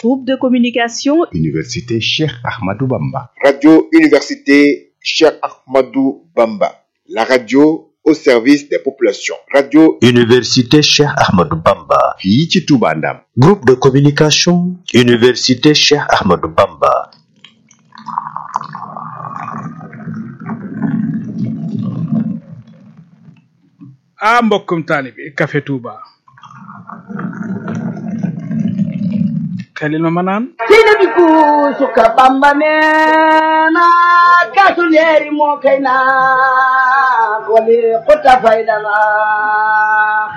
Groupe de communication Université Cheikh Ahmadou Bamba. Radio Université Cheikh Ahmadou Bamba. La radio au service des populations. Radio Université Cheikh Ahmadou Bamba. fii ci Touba Ndam. Groupe de communication Université Cheikh Ahmadou Bamba. mbokkum taalibe Café Touba xelil ma naan sina bi ku suka Bamba neena kaasu leeri moo kay naa wali xuta faydana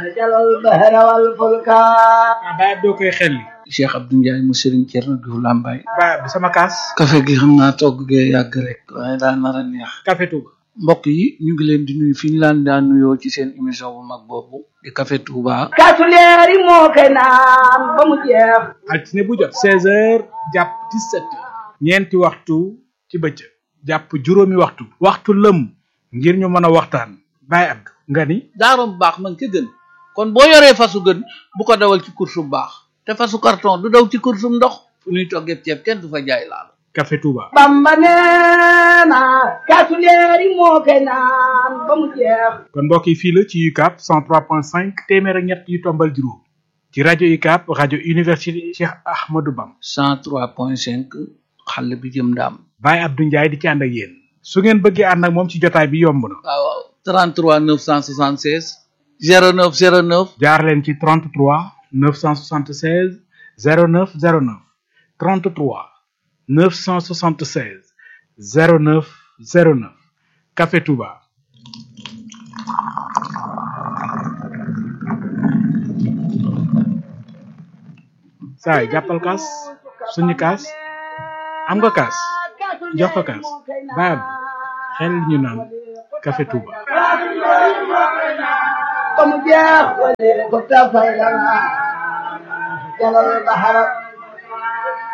xajalal bahra wal fulka baay doo koy xelli Cheikh Abdou Ndiaye mu Serigne Thierno Diouf Lambaye baay bi sama kaas café gi xam naa togg gee yàgg rek waaye daa nar a neex Café Touba mbokk yi ñu ngi leen di nuyu fi ñu laan daan nuyoo ci seen émission bu mag boobu di Café Touba kaasu leeri moo kay naan ba mu jeex altine bu jot 16h jàpp 17h ñeenti waxtu ci bëccëg jàpp juróomi waxtu lëm ngir ñu mën a waxtaan baay ab nga ni daarom baax man ca gën kon boo yoree fasu gën bu ko dawal ci course bu baax te fasu carton du daw ci course bu ndox fu ñuy toggee ceeb kenn du fa jaay laal Café Touba Bamba neena kaasu leeri moo kay naan ba mu jeex kon mbokk yi fii la ci UCAB 103.5 téeméer ak ñett yu tombal juróom ci rajo UCAB rajo Université Cheikh Ahmadou Bamba 103.5 xàll bi jëm ndaam Baye Abdou Ndiaye di ci ànd ak yéen su ngeen bëggee ànd ak moom ci jotaay bi yomb na waaw 33 976 09 09 jaar leen ci 33 976 09 09 33 976 09 09 Café Touba saay jàppal kaas suñu kaas am nga kaas jox ko kaas baab xel ñu naan Café Touba ba mu jeex wali xuta faydana jalal bahra